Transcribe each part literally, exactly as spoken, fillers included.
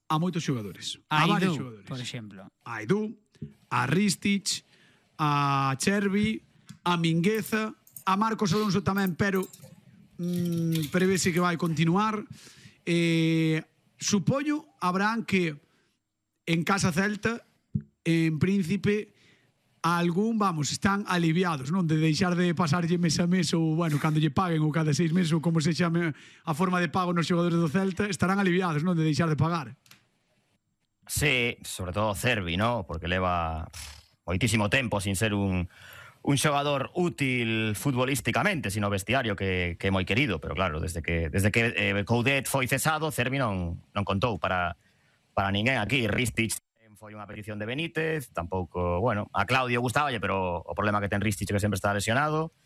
a moitos xogadores. A, a varios Aidú, xogadores. por exemplo. A Aidú, a Ristich, a Chervi, a Mingueza, a Marcos Alonso tamén, pero mm, prevese que vai continuar. Eh, supoño, Abraham, que en Casa Celta, en Príncipe, algún, vamos, están aliviados, non? De deixar de pasarlle mes a mes ou, bueno, cando lle paguen ou cada seis meses ou como se chame a forma de pago nos xogadores do Celta, estarán aliviados, non? De deixar de pagar. Sí, sobre todo Cervi, ¿no? Porque leva moitísimo tempo sin ser un, un xogador útil futbolísticamente, sino vestiario que, que é moi querido, pero claro, desde que desde que eh, Coudet foi cesado, Cervi non, non contou para, para ninguén aquí. Ristich foi unha petición de Benítez, tampouco, bueno, a Claudio gustaballe, pero o problema que ten Ristich é que sempre está lesionado,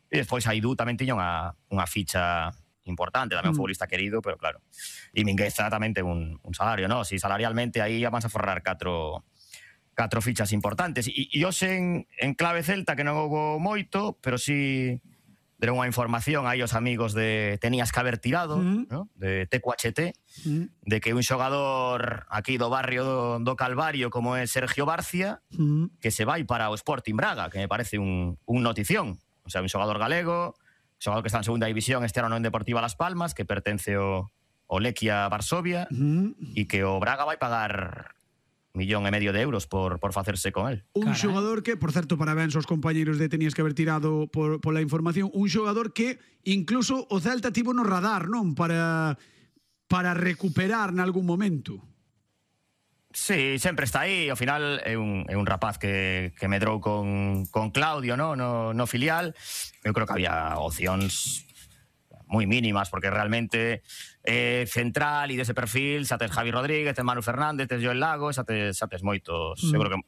e despois Aidú tamén tiña unha, unha ficha importante, tamén un futbolista querido, pero claro, e Mingueza tamén ten un, un salario, ¿no? Si salarialmente aí vamos a forrar catro catro fichas importantes. E, e hoxe en, en clave celta, que non houbo moito, pero sí deron unha información aí os amigos de Tenías que haber tirado, mm. ¿no? De T Q H T, mm. de que un xogador aquí do barrio do, do Calvario como é Sergio Barcia, mm. que se vai para o Sporting Braga, que me parece un, un notición. O sea, un xogador galego, un xogador que está en segunda división este ano en Deportiva Las Palmas, que pertence ao, ao Lequia Varsovia, mm. e que o Braga vai pagar millón e medio de euros por, por facerse con él. Un Caray. xogador que, por certo, parabéns aos compañeros de Tenías que haber tirado por, por la información, un xogador que incluso o Celta tivo no radar, non? Para, para recuperar nalgún momento. Sí, sempre está aí. Ao final é un, é un rapaz que, que medrou con, con Claudio, no? No, no filial. Eu creo que había opcións moi mínimas, porque realmente eh, central e dese perfil xa tes Javi Rodríguez, tes Manu Fernández, tes Joel Lago, xa tes, xa tes moitos. Mm. Eu creo que,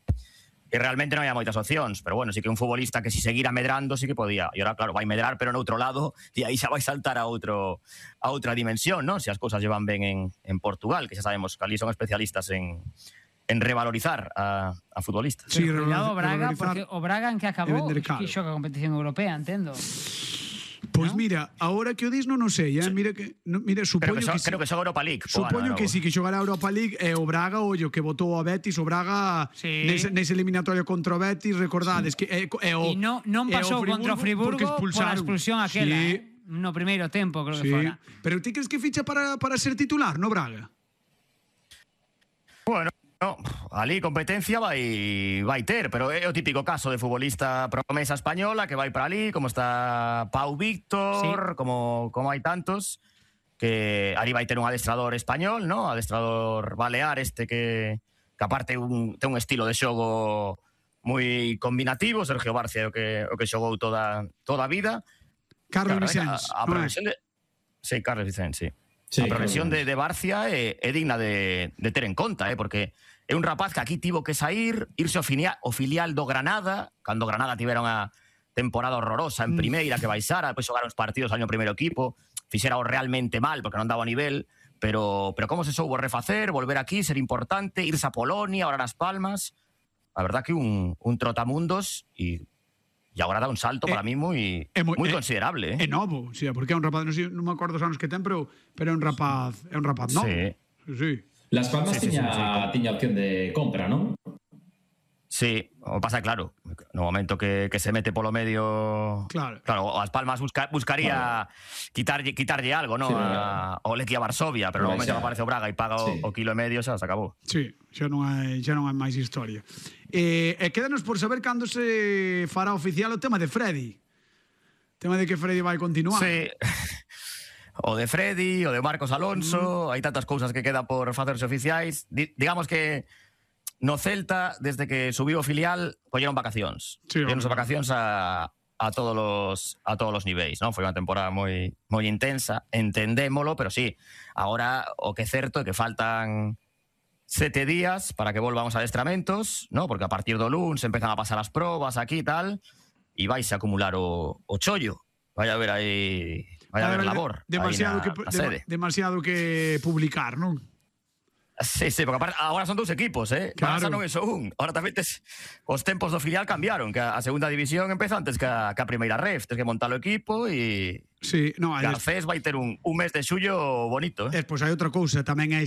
que realmente non había moitas opcións, pero bueno, sí que un futbolista que si seguira medrando sí que podía. E ahora, claro, vai medrar, pero no outro lado, e aí xa vai saltar a outro a outra dimensión, non? Se as cousas llevan ben en, en Portugal, que xa sabemos que ali son especialistas en en revalorizar a, a futbolistas. Sí, pero cuidado o Braga, porque o Braga en que acabou, que xoga a competición europea, entendo. Pois pues ¿no? Mira, agora que o dis non o sei, eh? Mira que, no, mira, supoño que, so, que creo que xoga Europa League. Supoño que sí, que xogará Europa League e o Braga, ollo, que votou a Betis, o Braga sí. nese, nese eliminatorio contra o Betis, recordades sí. que é, é o e non, non pasou o contra o Friburgo por a expulsión aquela, sí. eh? No primeiro tempo, creo sí. que fora. Pero ti crees que ficha para, para ser titular, no Braga? Bueno, no, ali competencia vai vai ter, pero é o típico caso de futbolista promesa española que vai para ali, como está Pau Víctor, sí. como, como hai tantos, que ali vai ter un adestrador español, ¿no? Adestrador balear este que, que aparte un, ten un estilo de xogo moi combinativo. Sergio Barcia o que, o que xogou toda, toda a vida. Carlos claro, Vicens. A, a progresión de... Sí, Carlos Vicens, sí. sí a progresión claro. de, de Barcia é, é digna de, de ter en conta, eh, porque é un rapaz que aquí tivo que sair, irse ao filial, ao filial do Granada, cando Granada tivera unha temporada horrorosa en primeira, que baixara, depois xogaron os partidos ao primeiro equipo, fixera o realmente mal, porque non daba nivel, pero, pero como se soubo refacer, volver aquí, ser importante, irse a Polonia, ahora nas Palmas, a verdad que un, un trotamundos, e E agora dá un salto eh, para mí moi moi considerable, eh. É novo, sí, porque é un rapaz, non, sei, non me acordo os anos que ten, pero pero é un rapaz, é un rapaz novo. Sí. Sí. Las Palmas sí, tiña, sí, sí, sí. tiña opción de compra, non? Sí, o pasa claro, no momento que, que se mete polo medio, claro, claro, As Palmas busca, buscaría claro. quitarlle, quitarlle algo, ¿no? Sí, a, a Lequia Varsovia, pero no momento que aparece o Braga e paga sí. o, o kilo e medio, xa se acabou. Sí, xa non hai, xa non hai máis historia. Eh, e quédanos por saber cando se fará oficial o tema de Freddy. O tema de que Freddy vai continuar. Sí. O de Freddy, o de Marcos Alonso, mm. hai tantas cousas que quedan por facerse oficiais. Di, digamos que no Celta, desde que subiu o filial, colleron vacacións. Sí, colleron vacacións a, a todos los a todos os niveis, ¿no? Foi unha temporada moi moi intensa, entendémolo, pero sí, agora o que é certo é que faltan sete días para que volvan os adestramentos, ¿no? Porque a partir do luns empezan a pasar as probas aquí e tal, e vais a acumular o, o chollo. Vai a ver aí, vai a haber labor. Demasiado, na, que, na de, demasiado que publicar, non? Sí, sí, porque agora son dous equipos, eh? Claro. Barça non é só un. Ahora tamén tes, os tempos do filial cambiaron, que a segunda división empeza antes que a, que a primeira ref. Tens que montar o equipo e... Sí, no, Garcés vai ter un, un mes de xullo bonito, eh? Despois hai outra cousa, tamén é